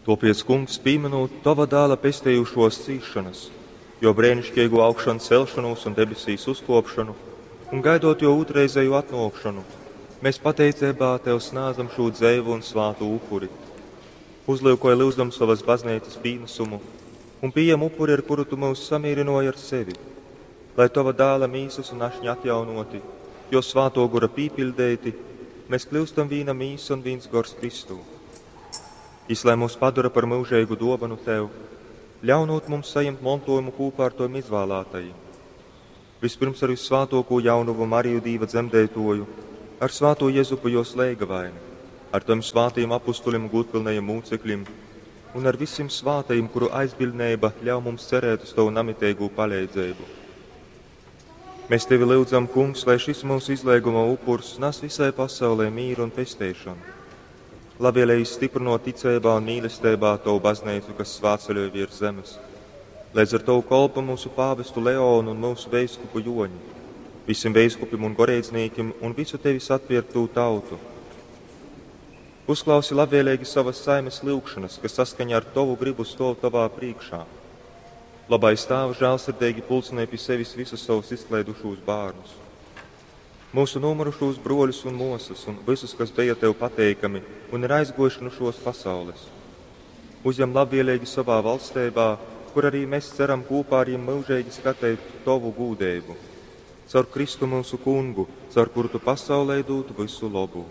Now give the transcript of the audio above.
Tuopiec, Kungs, pīminūt Tova dāla pestejušuos cīsšonas, juo breiniškeigū augšancelšonūs un debesīs uzkuopšonu, un gaidot juo ūtrreizejū atnuokšonu, mēs pateiceibā Tev snādzam šū dzeivu un svātu upuri. Uzlyukoj lyudzam sovas bazneicas pīnasumu un pījem upuri, ar kuru Tu myus samīrynuoji ar sevi, lai Tova dāla mīsas un ašņa atjaunoti, juo svātuo gora pīpiļdeiti, mēs kļūstam vīna mīsa un vīns gors Kristū. Jis lai mūs padara par myužeigu duovanu Tev, ļaunūt mums sajimt montuojumu kūpā ar Tovim izvālātajim. Vispirms ar Vissvātuokū jaunovu Mariju Dīva dzemdeituoju, ar svātū Jezupu juos leigavaini, ar Tovim svātajim apustulim un gūdpilnajim mūcekļim un ar vysim svātajim, kuru aizbiļdneiba ļauj mums cerēt uz Tovu namiteigū paleidzeibu. Mēs Tevi lyudzam, Kungs, lai šis mūsu izleiguma upurs nas visai pasaulē mīru un pesteišonu. Labvēlīgi stiprinot ticeibā un mīlestībā Tavu baznīcu, kas svētceļoja virs zemes. Līdz ar Tavu kolpu mūsu pāvestu Leonu un mūsu veiskupu Joņu, visiem veiskupim un goreidznīkim un visu Tevis atpirktū tautu. Uzklausi labvēlīgi savas saimes lyugšanas, kas saskaņā ar Tavu gribu stov Tavā priekšā. Labais Tēvs žēlsirdīgi pulcinē pie sevis visus savus izklaidušos bērnus. Mūsu nomurušos broļus un mosas un visus, kas bija Tev pateikami un ir aizgojuši no šos pasaules. Uzņem labvēlīgi savā valstībā, kur arī mēs ceram kopā ar viņiem mūžīgi skatīt Tavu gūdību. Caur Kristu mūsu kungu, caur kuru Tu pasaulē dod visu labu.